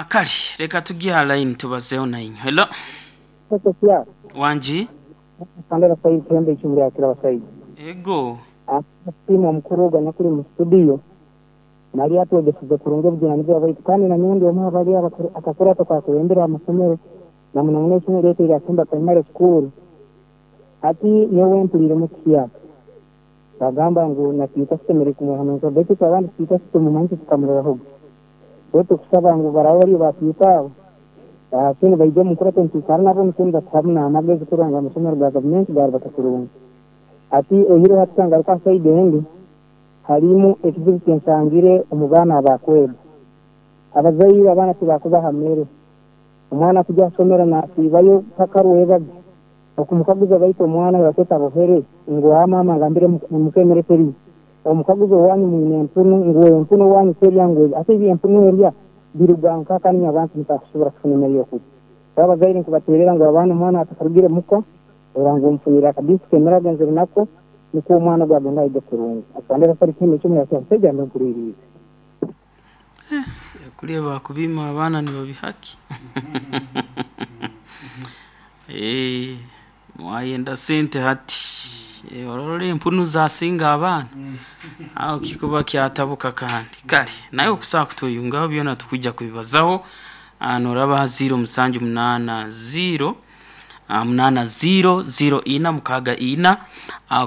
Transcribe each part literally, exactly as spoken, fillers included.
Ah, kale reka tujye ha line tubazeho na inyo. Hello. Sasa Wanji? Sandra Said Tembe ichumri akira basaidi. Ego. Simu omukuru ogwo anyakuri mu studio nali atwegesize kurungi obujunanizibwa bwaitu kandi na nyowe ndi omu abali akakurato kakulembera amasomero na muno muno isomero lyaitu erya Kimba Primary School. Hati nyowe mpuliremu kihyaka bagamba ngu natiita tusemeriire kumuha baitu itwe abandi tiita tumumanyi tukamurerahoga. Baitu kusaba ngu baraba bariyo batiita abo sini baija omu nkurato nitwikara nabo nikwo nibatuhamu n'amagezi kurora ngu amasomero ga gavumenti garubata kurungi. Hati oihireho hati kangaruka ha side endi harimu ekizibu kyensangire omu baana abakwega. Abazaire abaana tibakubaha mere. Omwana kujya ha nasiibayo paka rwebaga. Okumukaguza baitu omwana yakweta bohere ngu mama ngambire mukemere teri. Omukaguzo wanyu mwine empunu ngu empunu wanyu terya ngu ate ebi empunu erya biruga nkaka niyo abantu mutakusobora kufuna emere y'okurya. Abazaire nkubaterera ngu abaana omwana atakarugire muka ora ngu omufunire akadisiki emere agenzere nako nikwo omwana ogwo agenda ayige kurungi. Atwandera sari kinu ekimwe yakyamusajja mbe nkuririize. Kuleba kubima abaana nibabihaki. Eh, mwayenda sente hati. Eh, ororora empunu zasinga abaana. Aho kikuba kyatabuka kandi. Kale, naye okusaa kutuyungaho byona tukujja kubibazaho. Noraba zero musanju munana zero munana zero zero ina mukaga ina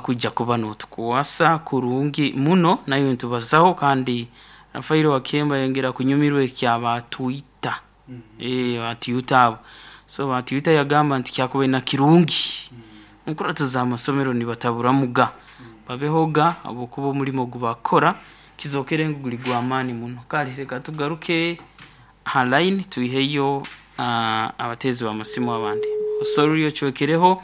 kujja kuba notukwasa kurungi muno nayo ntubazaho kandi Rafael Wakemba yongera kunyumirwa ekyaba Twitter. Mm -hmm. Eh ba Twitter abo. So ba Twitter yagamba nti kyakuba na kirungi. Mm -hmm. Nkurato za masomero nibataburamuga. Mm -hmm. Babehoga abokuba omulimo gubakora kizokere nguli gwa amani muno. Kale reka tugaruke ha line tuiheyo uh, abatezi ba masimu abandi. Sorry ochwekereho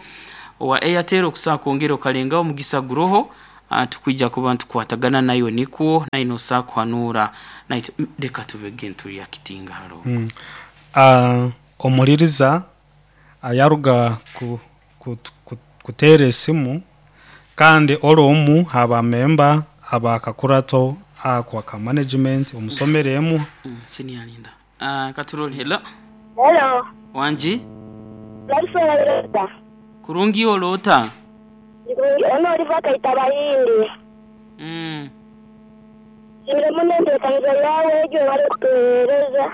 wa Airtel okusaa kwongera okalenga omugisa guroho uh, tukwijja kuba ntukwatagana nayo nikwo naino saa kuhanura naito reka tubege nturi akitinga haro. Mm. Uh, omuliriza ayaruga ku, ku, ku, kuteera esimu kandi oromu haba memba abakakurato akwa ka management omusomeremu mm, sinialinda. Uh, katuroli hello. Hello. Wanji? Laifa. Kurungi olota. Ono oliva kaita bahindi. Mm. Simire munende kanza yawe ejo wali kutuhereza.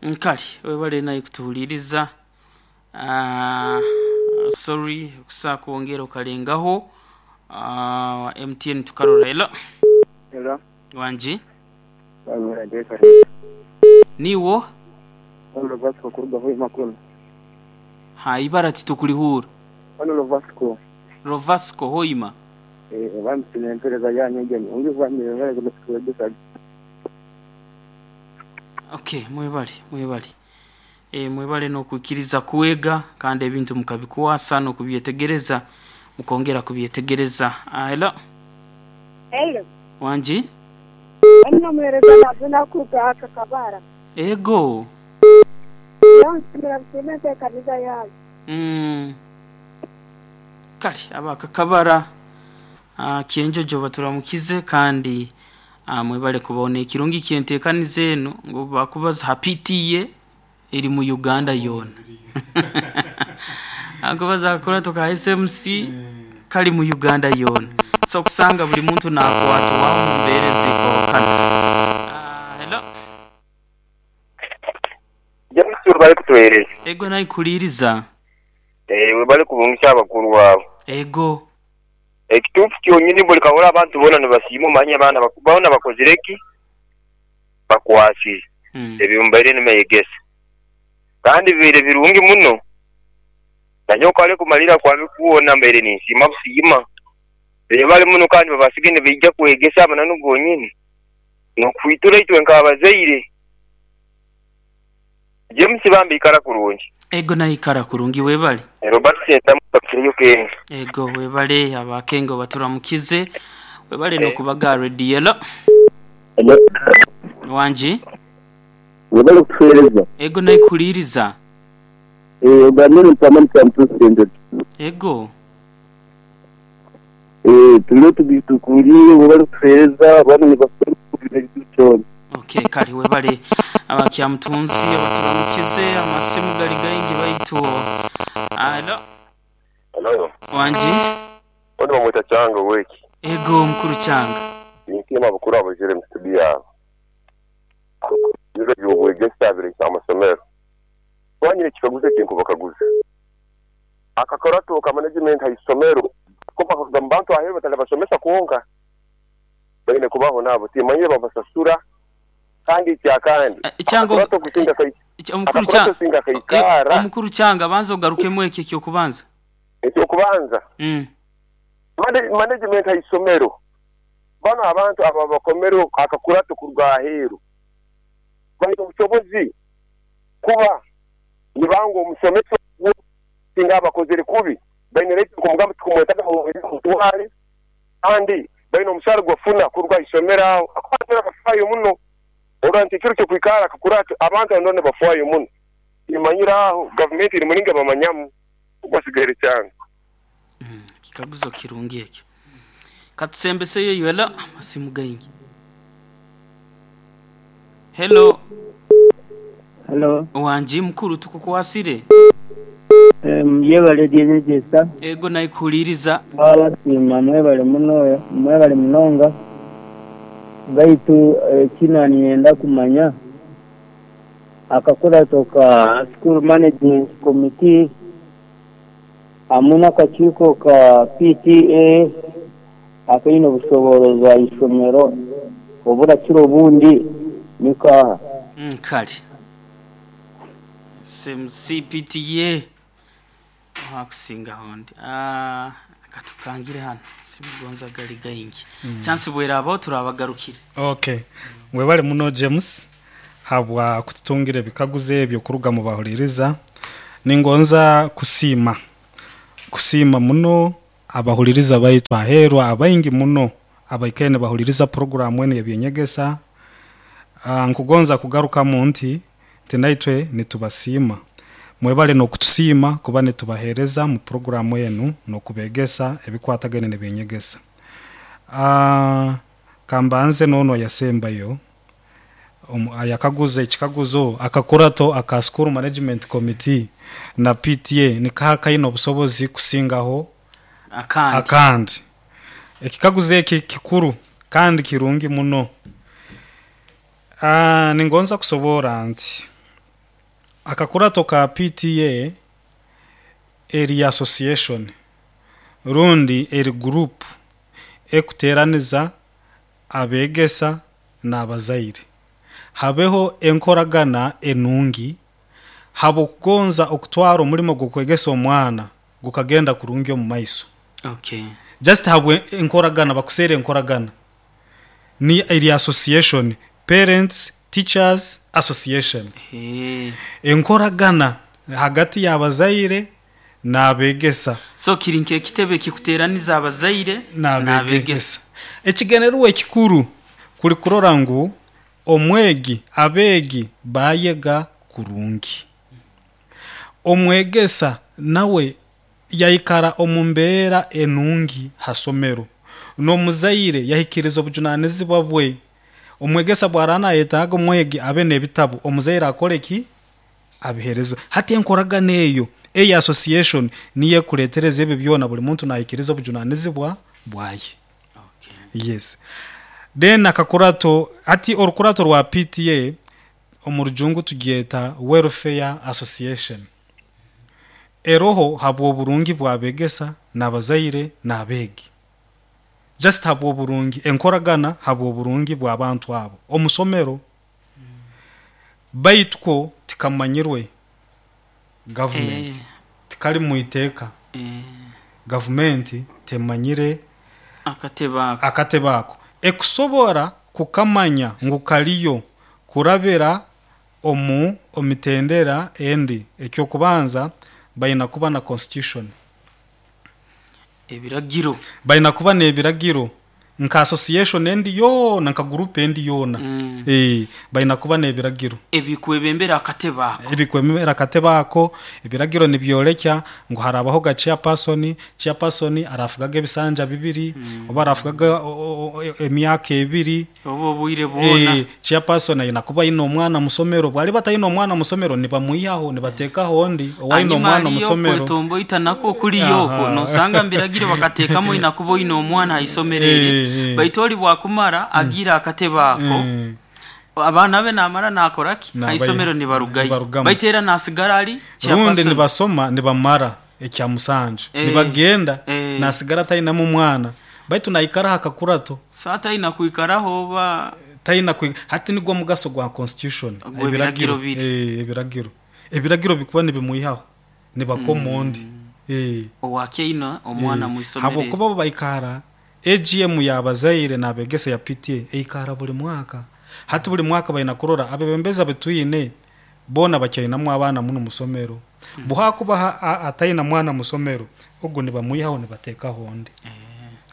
Nkali webale naye kutuhuliriza. Uh, sorry kusaa kuongera okalengaho. Uh, M T N tukarora hello. Hello. Wanji? Niwo? Ono Vasco kuruga hoyi makulu. Ha ibara titukulihura. Ono Vasco. Rovasco hoima. Eh bamsine empereza yanyu genyi. Ungi bamire ngale kukwegesa. Okay, mwebale, mwebale. Eh mwebale no kukiriza kuwega kandi ebintu mukabikuwasa no kubyetegereza mukongera kubyetegereza. Ah, hello. Hello. Wanji? Ono mwereza nazina kuka akakabara. Ego. Yonsimira msimete kanisa yanyu. Mm. Kale abakakabara uh, kienjojo baturamukize kandi uh, mwebale kubona ekirungi kyentekanize eno ngo bakubaza hapitiye eri mu Uganda yona. Akubaza akora toka S M C kali mu Uganda yona. So kusanga buli muntu nakwatu wawo mbere zikokana. Uh, hello. James bali kutuhereza. Ego nayi kuliriza. Eh we bali kubungisha abakuru wabo. Ego. Ekitufu kyonyini buli kawola abantu bona nibasiima manya abana bakubona bakozireki bakwasi. Mm. Ebimbaire nimeyegesa. Kandi bire birungi muno. Nanyoka ale kumalira kwa bikuona mbere ninsima busima. Bale muno kandi babasigene bijja kwegesa abana nugonyini. Nokwitura itwe nkabazeire. James bambi ikara kurungi. Ego na ikara kurungi webale. Robert Sentamu bakiriyo kenga. Ego webale abakengo baturamukize. Webale no kubaga radio. Hello. Wanji? Webale kutuhereza. Ego na ikuliriza. Eh ogamene mpamani kwa president. Ego. Eh tulio tubitukulie webale kutuhereza abana ni Kale webale abakyamutunzi abaturamukize amasimu gali gaingi baitu. Alo. Hello. Wanji. Ono bamwita Kyanga weki. Ego mukuru Kyanga. Ninsiima abakuru abajire mu studio yabo. Biro by'obwegesa bireka amasomero. Twanyire ekikaguzo ekinkubakaguza. Akakurato ka management haisomero kuba kugamba bantu aheru batali basomesa kuonka. Baine kubaho nabo timanyire babasasura kandi kyakandi. Kyanga kusinga kai. Omukuru Kyanga singa kaikara. Omukuru Kyanga banza ogarukemu ekyo ekyokubanza. Ekyo kubanza. Mm. Management haisomero. Bano abantu aba bakomero akakurato kurwa aheru. Baine obusobozi kuba nibango omusomesa singa abakozere kubi baine right kumugamba tukumwetaga mutwale kandi baine omushara gwafuna kurwa isomero aho akwatira bafayo muno oranti kiro cyo kwikara akakurato abantu andone bafayo muno imanyira aho government iri mulinga bamanyamu ubasigaire cyane. Mm, kikaguzo kirungi ekyo katusembeseye ywela amasimu gaingi. Hello. Hello. Wanji mukuru tukukwasire. Em yebale dyejesa. Ego nayikuliriza. Baba sima mwebale muno mwebale munonga. Baitu eh, kina nienda kumanya akakura toka school management committee amuna kakiiko ka P T A akaine obusoborozi bwa isomero oburakira obundi nika mm, kale C P T A hakusinga hondi ah katukangire hano simugonza gali gaingi mm. Chance bwera abo turabagarukire. Okay, webale muno James habwa kututungira bikaguze ebyo kuruga mu bahuliriza. Ningonza kusima kusima muno abahuliriza baitu aherwa abaingi muno abaikene bahuliriza program ene ebyenyegesa. Uh, nkugonza kugaruka mu nti tinaitwe nitubasima mwebale no kutusima kuba nitubahereza mu programu yenu no kubegesa ebikwatagene nebyenyegesa. Uh, kambanze nono yasembayo um, ayakaguza ekikaguzo akakurato aka school management committee na P T A nikahaka ino obusobozi kusingaho akandi akandi ekikaguzo eki kikuru kandi kirungi muno. Ah, ningonza kusobora nti akakurato ka P T A eri association rundi eri group ekuteraniza abegesa n'abazaire habeho enkoragana enungi habo kugonza okutwara omulimo gw'okwegesa omwana gukagenda kurungi omu maiso. Okay, just habwe enkoragana bakusere enkoragana ni eri association Parents Teachers Association. Hey. Enkoragana hagati y'abazaire n'abegesa. So kirinke ekitebe kikuteraniza abazaire n'abegesa. Ekigenerwa ekikuru kuli kurora ngu omwegi abegi bayega kurungi. Omwegesa nawe yaikara omumbeera enungi hasomero. N'omuzaire yahikiriza obujunanizibwa bwe. Omwegesa bwarana yetaga omwegi abe n'ebitabo omuzaire akole ki abiherezo. Hati enkoragana eyo eya association niye kuletereza ebyo byona buli muntu nahikiriza obujunanizibwa bwaye. Okay. Yes. Then akakurato hati orukurato rwa P T A omurujungu tugyeta Welfare Association. Eroho habwo burungi bwabegesa n'abazaire n'abegi. Just habwo burungi enkoragana habwo burungi bw'abantu abo omusomero. Mm. Baituko tikamanyirwe government eh. Tikali muiteka eh. Government temanyire akatebako akatebako ekusobora kukamanya ngu kaliyo kurabira omu omitendera endi. Ekyo kubanza bayina kuba na constitution ebiragiro bayina kuba n'ebiragiro Nka association endi yoona, nka group endi yoona. Mm. Eh, balina kuba n'ebiragiro ebikwebembera akatebe ako. Ebikwemera akatebe ako. Ebiragiro nibyolekya ngu harabaho ga chairperson. Chairperson arafugaga ebisanja bibiri oba arafugaga o- o- o- emyaka ebiri oba obwire bwona. Eh, chairperson ayina kuba ayina omwana musomero. Bwali batayina omwana musomero, nibamwihaho nibateekaho ondi owayina Hanyuma omwana haliyo musomero. Okwetomboita nako kuliyo okwo. Aha. Nosanga mbiragiro bakateekamu oyina kuba oyina omwana aisomero eri, Eh, eh. baitu oli bwakumara agira akatebe ako, Eh, abaana be namara nakoraki Nabayi- aisomero nibarugayo, nibarugamu. baitu era nasigara ali Rundi chairperson. nibasoma nibamara ekyamusanju, Eh, nibagenda, eh. nasigara tayinamu omwana, baitu naikaraho akakurato. So atayina kwikaraho oba Tayina kwi hati nigwo mugaso gwa constitution. Gw'ebiragiro biri. Eh, ebiragiro ebiragiro bikuba nibimwihaho nibakoma ondi. Eh. Owakyaina omwana Eh, mwisomero. Habwokuba bo baikara A G M yabazaire nabegesa ya P T A eikara buli mwaka. Hati buli mwaka balina kurora abebembezi abetwine bona bakyainamu abaana muno musomero. Buhakuba ha- a- atayina mwana musomero, ogwo nibamwihaho nibateekaho ondi.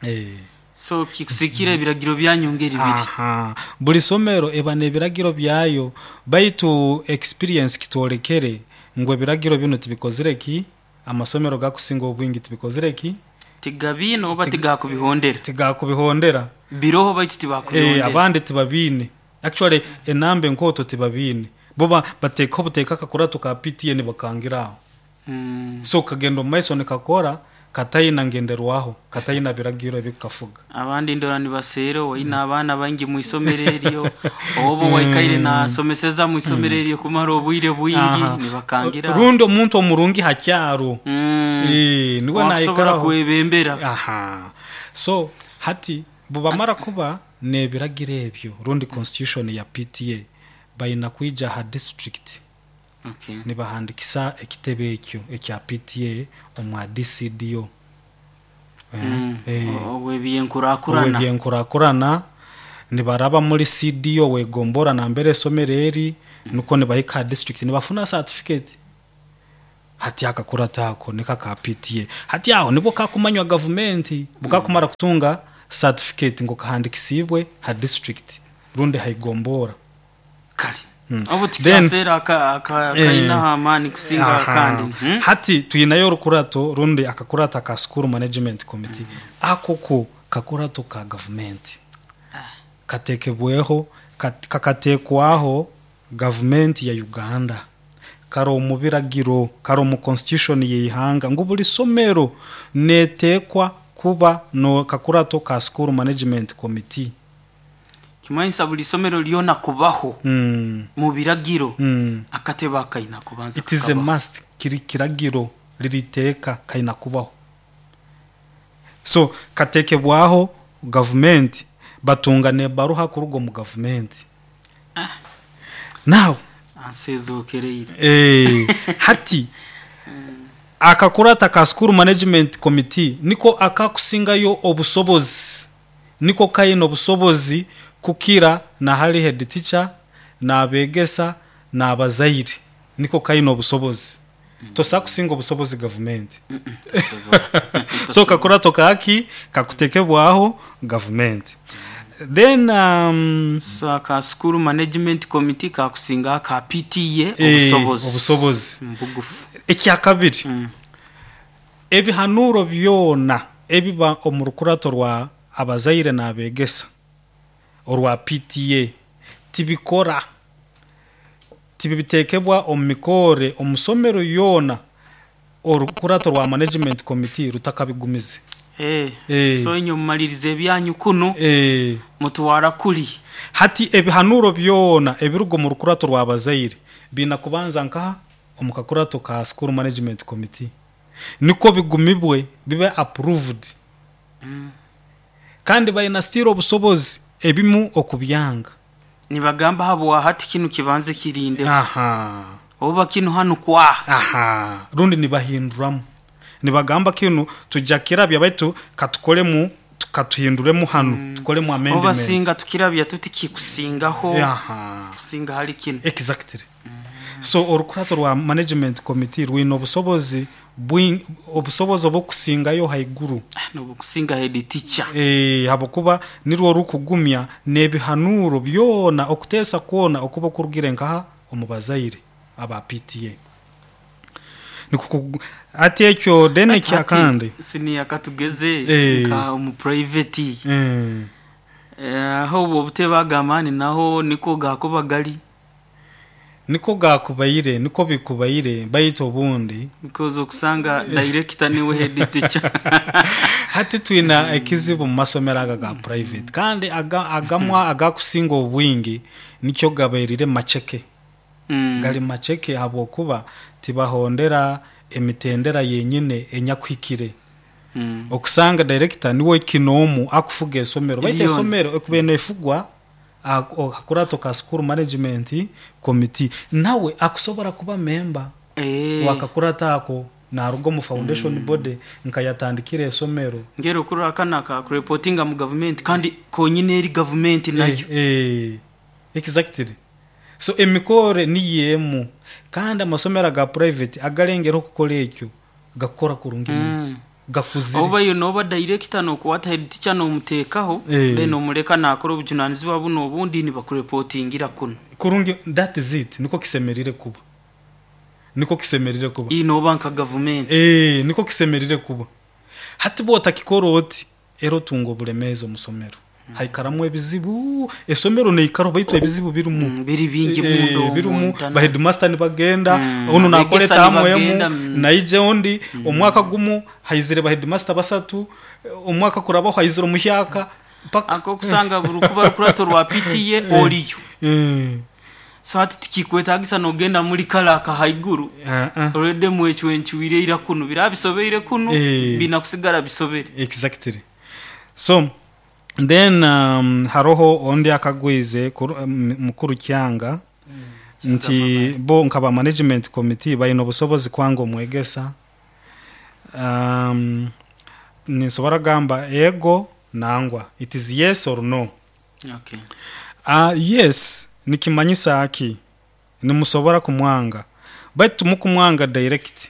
Eh. So kikusikira ebiragiro byanyu ngeri biri. Aha, buli somero eba n'ebiragiro byayo, baitu experience kitwolekere ngu ebiragiro bino tibikozire ki, amasomero gakusinga obwingi tibikozire ki. Tigabiine oba tigakubihondera. Tigakubihondera. Biroho baitu Eh, tibakubihondera. Abandi tibabiine. Actually enamba enkooto tibabiine, bo ba- bateekaho buteeka akakurato ka P T A nibakangiraho. Mm. So kagenda omu maiso nikakora katayina ngenderwaho, katayina biragiro ebikukafuga. Abandi ndora nibaseera oyina abaana baingi mwisomero eryo, oba waikaire nasomeseza mwisomero eryo kumara obwire bwingi, Aha. nibakangira. Rundi omuntu omurungi hakyaro. Mm. Eh, niwe wakusobora naikaraho kwebembera. Aha, so hati bubamara kuba n'ebiragiro ebyo rundi constitution ya P T A, bayina kwija ha district, Okay. nibahandikisa ekitebe ekyo ekya P T A omwa D C D O. Eh, Mm. eh, obwebyenkurakurana. Obwebyenkurakurana, nibaraba muri C D O wegombora nambere esomero eri, nuko nibahika ha district nibafuna certificate. Hati akakurata ako nika ka P T A. Hati aho nibwo kakumanywa gavumenti, bukakumara kutunga certificate ngo kahandikisibwe ha district rundi haigombora. Kale, Mm. obu Then- tikyaseera aka- aka- Eh, kainaho amaani kusinga Aha. akandi. Hmm? Hati twinayo orukurato rundi akakurata ka school management committee. Ako ko kakurato ka gavumenti katekebweho, kat- kakatekwaho gavumenti ya Uganda, kari omu biragiro, kari omu constitution yeihanga ngu buli somero netekwa kuba no kakurato ka school management committee. Kimanyisa buli somero lyona kubaho mm. mu biragiro, Mm. akatebe akayina kubanza It is a kakabaho. must, kiri kiragiro liriteeka kayina kubaho. So katekebwaho gavumenti, batunga nebaruha kuruga omu gavumenti. Ah. Now Ansezokereire. eh, hati akakurata ka school management committee niko akakusingayo obusobozi, niko kayina obusobozi kukira nahali head teacher n'abegesa n'abazaire. Niko kayina obusobozi, tosa kusinga obusobozi gavumenti. So kakurato kaki kakutekebwaho gavumenti. Then um, So aka school management committee kakusinga aka P T A Eh, obusobozi. Obusobozi. Mbugufu. Ekyakabiri, Mm. ebihanuro byona ebiba omu rukurato rwa abazaire n'abegesa orwa P T A tibikora, tibitekebwa omu mikore omusomero yoona orukurato rwa management committee rutakabigumize. Eh, Eh. so inyo mumaliriza ebyanyu kuno, Eh, mutwara kuli. Hati ebihanuro byona ebiruga omu rukurato rw'abazaire biina kubanza nkaha omu kakurato ka school management committee, niko bigumibwe bibe approved. Mm. Kandi balina still obusobozi ebimu okubyanga. Nibagamba habwa hati kinu kibanze kirinde, Aha. oba kinu hanu kwaha. Aha, rundi nibahinduramu, nibagamba kinu tujja kirabya, baitu katukolemu, katuhinduremu hano, tukolemu Oba amendment. singa tukirabya tuti kikusingaho, Aha. kusinga hali kinu. Exactly. So orukurato rwa management committee rwine obusobozi. bwingi obusobozi obukusingayo haiguru. Nobukusinga head teacher. Eh, habwokuba nirwo rukugumya n'ebihanuro byona okuteesa kwona okuba kurugire nkaha omu bazaire aba P T A. Nikuku ati ekyo then Ati ekyakandi siniya katugeze Eh. nka omu private. Eh. Eh, aho obwo obutebe agamani naho niko gakuba gali. Niko gakubaire, niko bikubaire baitu obundi because okusanga director niwe head teacher. Hati twina ekizibu mu masomero aga ga private kandi aga, agamwa agakusinga obwingi nikyo gabairire macheke. Mm. Gali macheke habwokuba tibahondera emitendera yenyine enyakuhikire. Mm. Okusanga director niwe kinomu akufuga esomero. Baitu Eliyoni. esomero ekube nefugwa akurato ka school management committee nawe akusobora kuba member. Eh. Wakakurata ako narugo mu foundation Mm. body nkayatandikira esomero. Ngero kurra kana ka reportinga mu government kandi konyine eri government nayo. Eh, eh, exactly. So emikore ni yemu kandi amasomero ga private agalengera okukora ekyo gakora kurungi Mm. gakuzire. Oba yo noba director no kuwata head teacher no mutekaho Eh. then omuleka nakora obujunanizibwa buno obundi ni bakureportingira kuno. Kurungi that is it niko kisemerire kuba. Niko kisemerire kuba. Ino banka government. Eh, niko kisemerire kuba. Hati bota kikoro oti ero tungo bulemezi omusomero. Mm. Haikaramu ebizibu esomero neikaro baitu ebizibu birumu. Mm, biri bingi Eh, mundo birumu muntana. ba headmaster ni bagenda Mm, ono abegesa nakoleta ni bagenda, amwemu mm. naije ondi mm. Omwaka gumu haizire ba headmaster basatu omwaka kuraba haizire omuhyaka paka ako kusanga burukuba rukurato rwa P T A oliyo. Eh. So hati tikikwetagisa nogenda muri kala ka haiguru. Uh -uh. Already mwechwenchuire ira kuno birabisobeire kuno Eh. binakusigara bisobere. Exactly. So then um, haroho ondi akagwize um, mukuru kyanga mm, nti bo nkaba management committee bayino obusobozi kwanga omwegesa. Um, ninsobora gamba ego nangwa it is yes or no. Okay. Uh, yes nikimanyisa aki nimusobora kumwanga baitu mukumwanga direct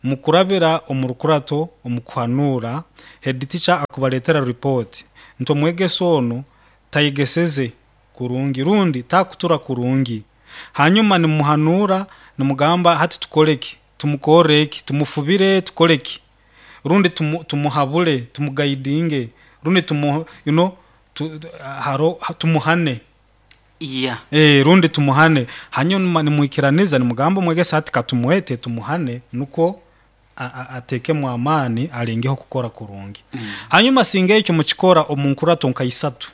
mukurabira omurukurato omukuhanura head teacher akubaletera report nto omwegeso ono tayigeseze kurungi rundi takutura kurungi hanyuma nimuhanura nimugamba hati tukoleki tumukoreki tumufubire tukoleki rundi tumu, tumuhabule tumuguidinge rundi tumu you know tu, haro tumuhane. Yeah. Eh, rundi tumuhane hanyuma nimwikiraniza nimugamba omwegesa ati katumuwete tumuhane nuko atekemu amani alengeho kukora kurungi. Mm. Hanyuma singa ekyo mukikora omunkurato nkaisatu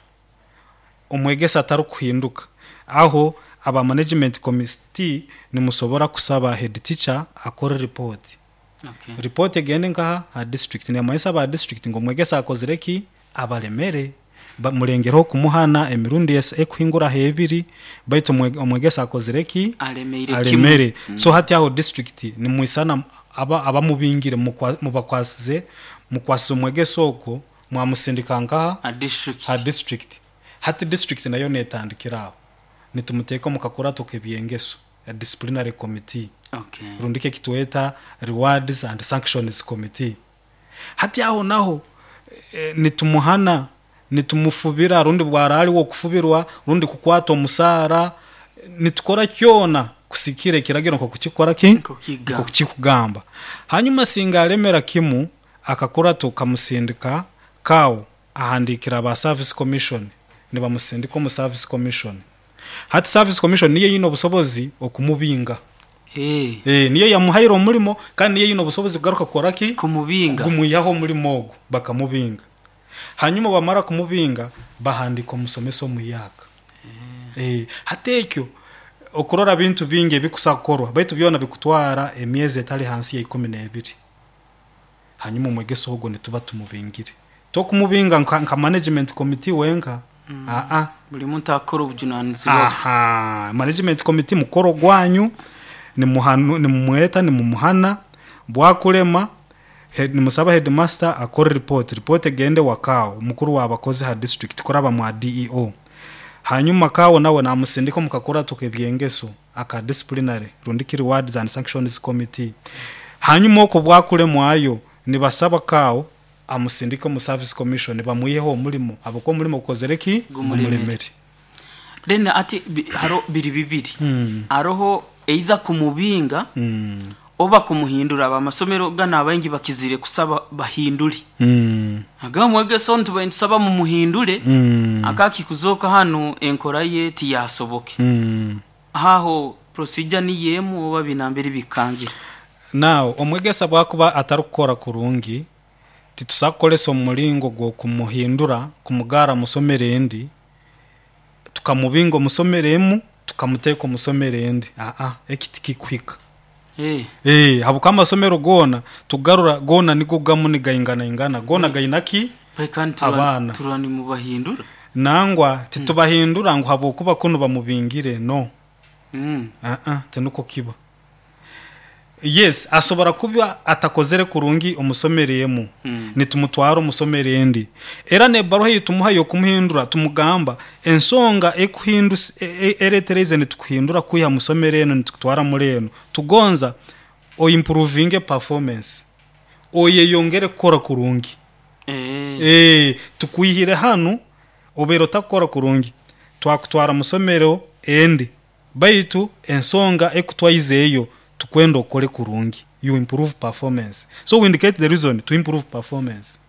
omwegesa atarukuhinduka aho aba management committee nimusobora kusaba head teacher akore report. Okay. Report egende nkaha ha district ni aba district ngo omwegesa akozire ki abalemere mulengero kumuhana emirundi ekuhingura hebiri baitu omwegesa akozire ki alemere alemere. Mm. So hati aho district ni muisana aba abamubingire mubakwasize mukwasize omwegesa oko mwamusindika nkaha ha district. Ha district hati district nayo netandikira aho nitumuteka mukakurato kebyengeso a disciplinary committee. Okay. Rundike kitweta rewards and sanctions committee hati aho naho e, nitumuhana nitumufubira rundi bwarali wo kufubirwa rundi kukwata omusara nitukora kyona kusikire kiragiro nko kukikora ki nko kukigamba. Hanyuma singa alemera kimu akakora tukamusindika kawo ahandikira ba service commission nibamusindika mu service commission hati service commission niyo yino obusobozi okumubinga. Eh eh niyo yamuhaira omulimo kandi niyo yino obusobozi kugaruka kukora ki kumubinga gumuyaho omulimo ogwo bakamubinga. Hanyuma bamara kumubinga bahandika omusomeso omuyaka. Eh, eh hati ekyo okurora bintu bingi ebikusakorwa baitu byona bikutwara emyezi etali hansi ya ikumi n'ebiri. Hanyuma omwegeso ogwo nituba tumubingire tokumubinga nka, nka management committee wenka. Mm. A a buli muntu akora obujunanizibwa. Aha management committee mukoro gwanyu ni muhanu ni mumweta ni mumuhana bwakulema head nimusaba headmaster akore report report egende wakao mukuru wabakozi ha district koraba mu D E O. Hanyuma kawo nawe namusindika mukakora tukebyengeso aka disciplinary rundiki rewards and sanctions committee. Hanyuma okwo bwakulemwayo nibasaba kaawo amusindike mu service commission bamwiheho omulimo, habwokuba omulimo gukozere ki? Gumulemere. Gumulemere. Then ati bi- haro biri bibiri, Mm. aroho either kumubinga Mm. oba kumuhindura. Abamasomero gana abaingi bakizire kusaba bahindule, Mm. agamba mwegesa onu tubaye nitusaba mumuhindule, Mm. akakikuzoka hano enkora ye tiyasoboke. Mm. Haho procedure niyemu oba binambere bikangira? Now omwegesa bwakuba atarikukora kurungi, titusa kukolesa omulingo gw'okumuhindura kumugara musomero endi, tukamubinga omusomero emu tukamuteeka omusomero endi. Aa, eki tikikuhika. Eh. Eh, habwokuba amasomero goona tugarura goona nigo gamu nigainganaingana, goona gaina ki? Kandi Abaana. Turani mubahindura. Nangwa titubahindura ngu habwokuba kunu bamubingire, no. Mm. Aa, tinuko kiba. Yes, asobora kuba atakozere kurungi omusomero emu, Mm. nitumutwara omusomero endi, era nebaruha eyitumuha yokumuhindura tumugamba ensonga ekuhindus- e- e- eretereze nitukuhindura kwiha musomero eno nitukutwara muri eno, tugonza oimprovinge performance, oyeyongere kukora kurungi. Eh. Eh, tukwihire hanu obeire otakukora kurungi, twakutwara musomero endi, baitu ensonga ekutwaizeeyo tukwenda okore kurungi, you improve performance. So we indicate the reason to improve performance.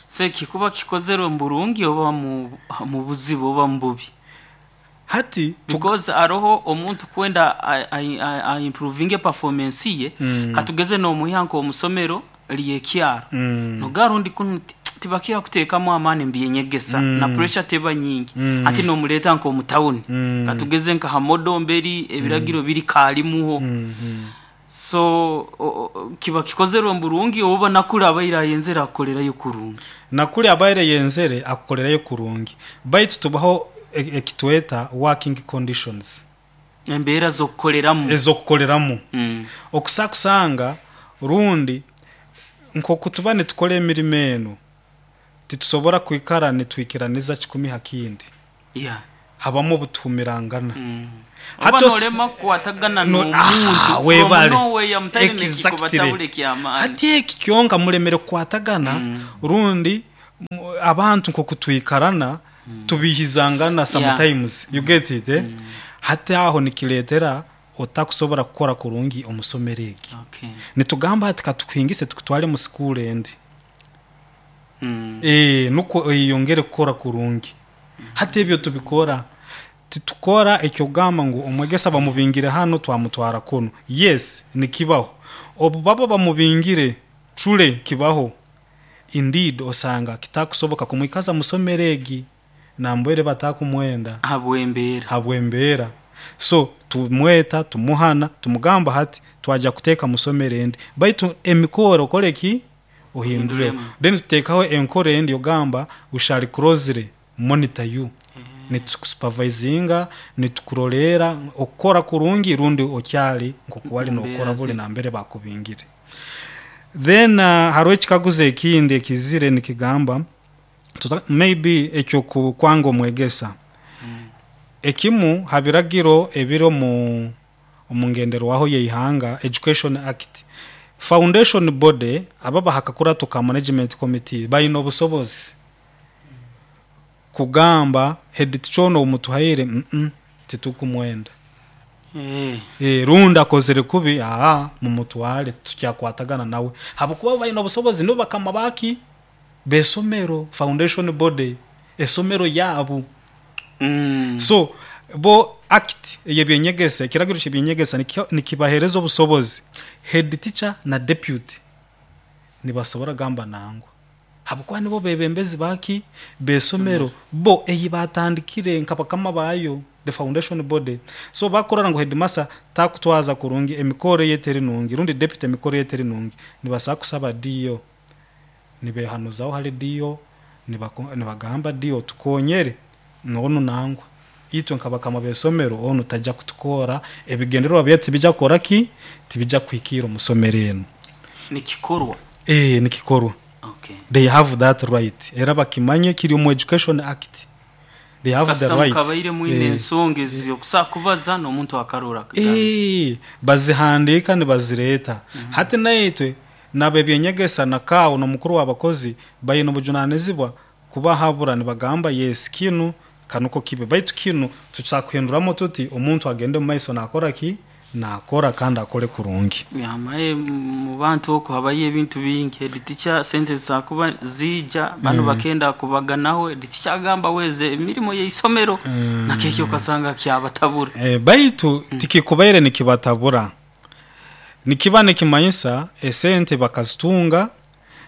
Se kikuba kikozerwe mu burungi oba mu mu buzibu oba mu bubi? Hati tu- Because aroho omuntu kwenda a, a, a, a improvinge performance ye, Mm. katugeze nomuha nko omusomero lyekyaro, Mm. nogarundi kunu ti- tibakira kuteekamu amaani mbyenyegesa, Mm. na pressure teba nyingi, Mm. ati nomuleta nko omutawuni, Mm. katugeze nka hamodo mberi ebiragiro biri kalimuho. Mm, mm. So o- o- kiba kikozerwe mu burungi oba nakuli abaire ayenzere akolerayo kurungi? Nakuli abaire yenzere akukolerayo kurungi, baitu tubaho e- ekitweta working conditions. Embeera z'okukoleramu. Ezokukoleramu. Mm. Okusa kusanga rundi nkoku tuba nitukora emirimo eno, titusobora kwikara nitwikiraniza kikumi ha kindi. Yeah. Habamu obutuhumirangana. Mm. Hati oba os- nolema kukwatagana No- n'omuntu ah, from webale. nowhere, mutaine nekiko Exactly. batabule kyamaani. Hati eki kyonka mulemere kukwatagana, rundi mu- abantu nkoku twikarana tubihizangana sometimes, you get it, eh? Hati aho nikiretera otakusobora kukora kurungi omusomero egi. Okay. Nitugamba ati katukuhingise tukutwale mu school endi. Mm. Eh, nuko oyeyongere kukora kurungi. Hati ebyo tubikora, titukora ekyogamba ngu omwegesa bamubingire hano twamutwara kuno. Yes, nikibaho obu baba bamubingire, trule kibaho indeed, osanga kitakusoboka kumwikaza musomero egi nambwere batakumwenda. Habwembeera. Habwembeera. So tumweta, tumuhana, tumugamba hati twajya kuteeka musomero endi, baitu emikoro okole ki? Ohinduremu. Ohinduremu. Then tuteekaho enkoro endi ogamba we shall closely monitor you, nitukusupervisinga, nitukurolera okukora kurungi rundi okyali nkoku wali Mbeera nokora buli zi- nambere bakubingire. Then uh, hariho ekikaguzo ekindi ekizire nikigamba tuta, maybe ekyo ku- kwanga omwegesa. Ekimu ha biragiro ebiri omu omu ngenderwaho yeihanga, Education Act, foundation body ababa hakakurato ka management committee bayina obusobozi kugamba head teacher ono omutuhaire, mm -mm, titukumwenda. Eh. E, rundi akozere kubi, aa, mumutwale, tukyakwatagana nawe, habwokuba balina obusobozi, nibo bakama baki besomero, foundation body esomero yabu. Mm. So bo act eyebyenyegesa, ekiragiro kyebyenyegesa nikyo- nikibahereza obusobozi, head teacher na deputy nibasobora gamba nangwa, habwokuba nibo bebembezi baki besomero, bo eyi batandikire nka bakama bayo, the foundation body. So bakorora ngu headmaster takutwaza kurungi, emikoro ye teri nungi, rundi deputy emikoro ye teri nungi, nibasaba kusaba D O, nibehanuzaho hali D O, nibako- nibagamba D O tukonyere nono nangwa itwe nkabakama besomero ono tajja kutukora, ebigendererwa byaitu tibijja kukora ki, tibijja kuhikira omusomero eno. Nikikorwa. Eh, nikikorwa. Okay. They have that right, era bakimanye kiri omu Education Act. They have the Kasita right. mukabaire mwine Eh. ensonga ezi kubaza n'omuntu akarora. Eh, bazihandiika nibazireeta. Hati naitwe nabo ebyenyegesa nakaawo n'omukuru w'abakozi baine obujunanizibwa kubahabura, nibagamba yes, kinu kanuko kibe, baitu kinu tusakuhinduramu tuti omuntu agende mu maiso nakora ki, nakora kandi akole kurungi. Yamaye mu bantu okwo habayo ebintu bingi. Head teacher sente zakuba zija, bano bakenda kubaganaho, head teacher agamba weze emirimo y'isomero, nakekyo ukasanga kyabatabura. Eh, baitu tikikubaire nikibatabura, nikiba nikimanyisa esente bakazitunga,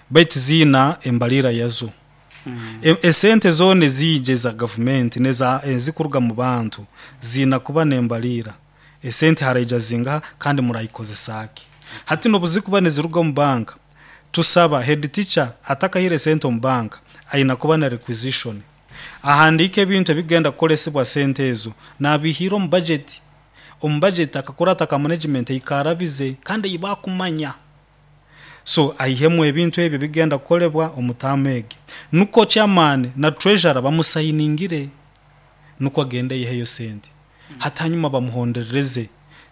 baitu ziina embalira yazo. E- esente zone ziije za gavumenti neza ezikuruga mu bantu ziina kuba nembalira. Esente haraija zingaha kandi murayikozesaki? Hati nobuzikuba niziruga mu banka, tusaba head teacher atakahire sente omu banka aina kuba na requisition, ahandike ebintu ebigenda kukolesebwa sente ezo, nabihira omu budget. Omu budget akakurata ka management ikarabize kandi ibakumanya, so aihemu ebintu ebyo bigenda kukolebwa omutamu egi, nuko chairman na treasurer bamusayiningire, nuko agende yiheyo sente. Hati hanyuma bamuhonderereze.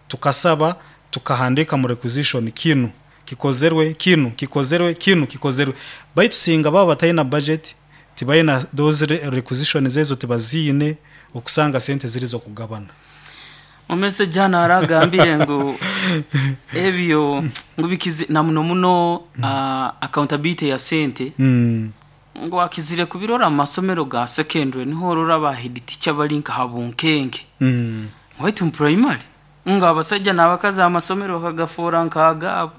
Tukasaba tukahandika mu requisition kinu kikozerwe, kinu kikozerwe, kinu kikozerwe, baitu singa baba batayina budget, tibayina those re- requisition zezo, tibaziine, okusanga sente ziri zo kugabana. Omese jana aragambire ngu ebyo ngu bikizi na muno muno uh, accountability ya sente, mm. ngo akizire kubirora mu masomero ga secondary, niho orora ba head teacher bali nka habunkenke, Mm. waitu mu primary nga abasajja n'abakazi amasomero bakagafuura nk'agaabo,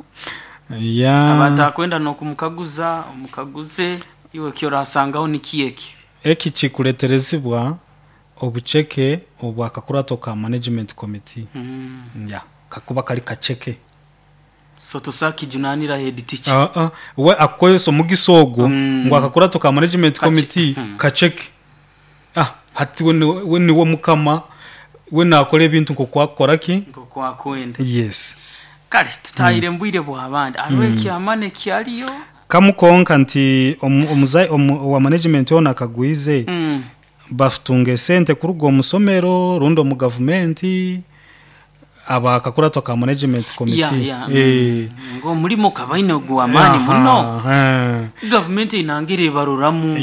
ya abatakwenda n'okumukaguza omukaguze iwe kyorasangaho nikieki. Eki kikuleterezibwa obuceke obwakakurato ka management committee. Mm. Ya kakuba kali kaceke. So tosakijunanira head teacher. uh, uh, we akozesa omugisa ogwo Mm. ngu akakurato ka management Kache- committee Mm. kaceke. Ah, hati we ni- we niwe mukama, we nakora ebintu nkokwakora ki. Nkokwakwenda. Yes. Kale tutahire mbwire bw'abandi, hariho ekyamane kyaliyo. Kamukonka nti omu- omuzai omu- owa management ono akagwize Mm. batunga esente kuruga omusomero rundi omu gavumenti abakakurato ka management committee. Ya, ya. Eh. Ng'omulimo kabaine gw'amaani muno. Aha, eh. Gavumenti inangira ebaroramu.